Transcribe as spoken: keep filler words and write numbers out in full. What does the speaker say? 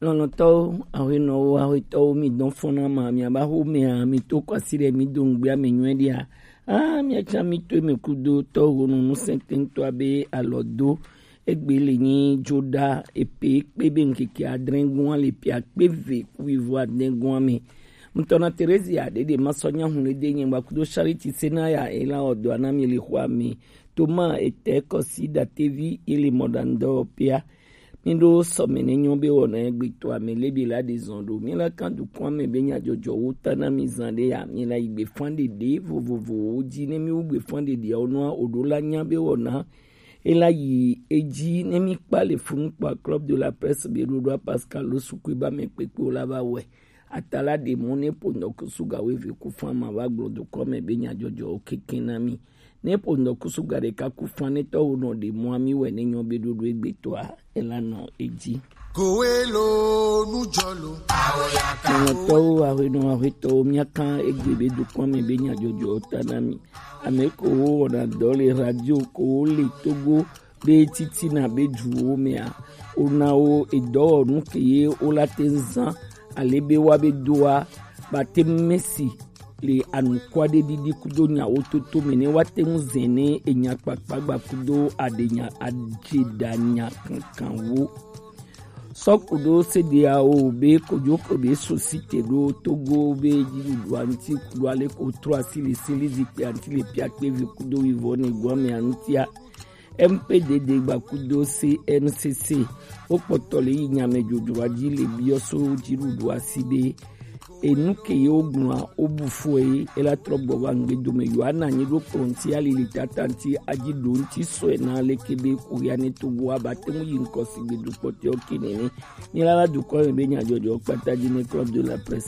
Lɔlɔ̃tɔwo, aƒenɔwo, aƒetɔwo, mi dɔn fɔna ma, mi aba xo mea, mi to kɔsi ɖe mi do ŋgbea me nyuie ɖia. Ah, mi atsa mi to me kudo tɔ ho no nu sentento abe alɔ do. Egbe le nyi joda epe kpe be ŋkeke adre gua le pia kpe ve kuivo adre gua me. Ŋutɔ na Terezia ɖeɖe ma sɔ nya hu le de nye gba kudo Charity Senaya ela odo anami le xɔ ame. Toma ete kɔsi datevi ele mɔɖaŋudɔwɔƒea. Míɖo sɔme ne nyɔ be wɔna egbetɔa me lebi la ɖe zɔn ɖo. Míla kan dukɔa me be nyadzɔdzɔwo ta na mi zan ɖe ya. Míla yi gbefan ɖeɖe vovovowo dzi ne míwu gbefan ɖeɖeawo nɔa oɖo la nya be wɔna ela yi edzi ne mi kpa le funu kpa Club de la Presse be ɖoɖoa Pascal lo sukui ba me kpekpewo la va wɛ. Atala ɖe mɔ ne ƒo ŋdɔ kusu ga weve ku fan ma va gblɔ dukɔ me be nyadzɔdzɔwo keke na mi. Ne ƒo ŋdɔ kusu ga ɖeka ku fan ne tɔwo nɔ ɖe mɔa mi wɛ ne nyɔ be ɖoɖo egbetɔa ela nɔ edzi. Kowe lo nu jɔ lo. Awo ya ka. Nɔnɔtɔwo, aƒenɔ, aƒetɔwo, míaka egbe be dukɔ me be nyadzɔdzɔwo ta na mi. Ame kowo wɔna dɔ le radio kowo le Togo be titina be duwo mea, wona wo edɔwɔnu ke ye wola te ŋu zã ale be woabe doa bate ŋu mesi le anukua ɖe ɖiɖi kudo nyawo toto me ne woate ŋu zɛ ne enya kpakpa gba kudo aɖe nya aɖe ɖa nya kankanwo. Sɔ kudo sedeawo be kojo ko be sosite ɖo Togo be dziɖuɖua ŋuti kudo ale ko trɔ asi le seli zikpea ŋuti le piakpe vi kudo wivɔ ne gɔmea ŋutia. M P D D gba kudo C N C C wokpɔtɔ le yi nyame dzodzroa dzi le biɔ so dziɖuɖua si be enu ke ye wogblɔa wobu fue ela trɔ gbɔ va ŋgbe dome Yohana nyi ɖo kplɔ ŋuti ali le tata ŋuti adzi ɖo ŋuti sɔe na leke be kuya ne Togo aba te ŋu yi ŋkɔ si gbe dukpɔtɔewo ke nene. Mi la va dukɔ me be nyadzɔdzɔ kpata dzi ne Club de la Presse.